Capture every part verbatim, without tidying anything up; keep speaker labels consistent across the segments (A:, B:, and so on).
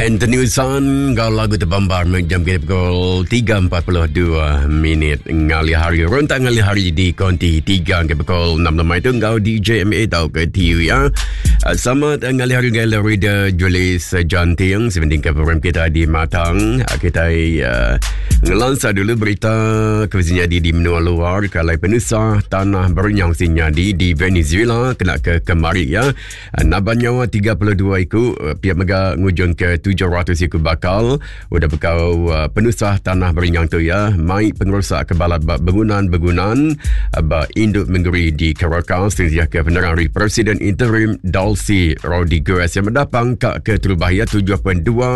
A: Anthony San enggau lagu Terbambar jam kita pukul tiga empat puluh dua minit ngalih hari. Rentak ngalih hari di konti tiga ke pukul enam lemai tu enggau D J M A tau ke T U ya. Selamat ngalih hari enggau Reader Julius Janting sebending ke program kita di Matang. Kita uh, ngelansa dulu berita kebiasaan di menua luar kalai penusah tanah berenyang sinyadi di Venezuela kena ke kemari ya. Naban nyawa tiga puluh dua iku pihak mega ngujung ke tujuh ratus iku bakal udah bekau uh, penusah tanah berenyang tu ya mai pengerusak ke balat ba bangunan-bangunan ba induk mengeri di Caracas sehingga ke penerang dari Presiden Interim Delcy Rodriguez yang mendapang kak ke terubah ya tujuh perpuluhan dua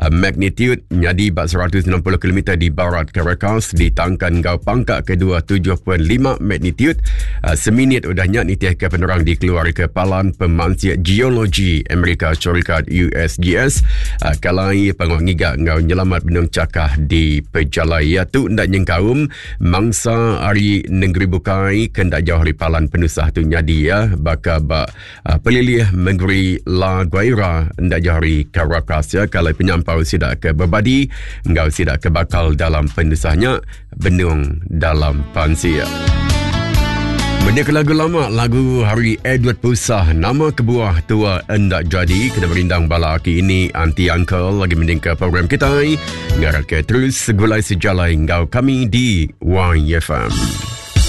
A: uh, magnitude nyadi ba seratus enam puluh kilometer di barat Caracas ditangkan gau pangkak kedua tujuh perpuluhan lima magnitude uh, seminit udahnya nitih ke penerang dikeluar ke Palan Pemansia Geologi Amerika Syarikat U S G S uh, kalai pangok ngiga ngau nyelamat benung cakah di pejalai ya tu ndak nyengkaum mangsa hari negeri bukai kendak jauh hari palan penusah tu nyadi ya baka ba uh, pelilih negeri La Guaira ndak jauh hari Caracas ya kalai penyampau sidak ke berbadi ngau sidak ke bakal dalam penusahnya benung dalam pansia. Benda ke lagu lama, lagu hari Edward Pusah, nama kebuah tua endak jadi, kena merindang bala aki ini, auntie uncle lagi mending ke program kita. Ngarap ke terus segulai sejalai ngau kami di Y F M.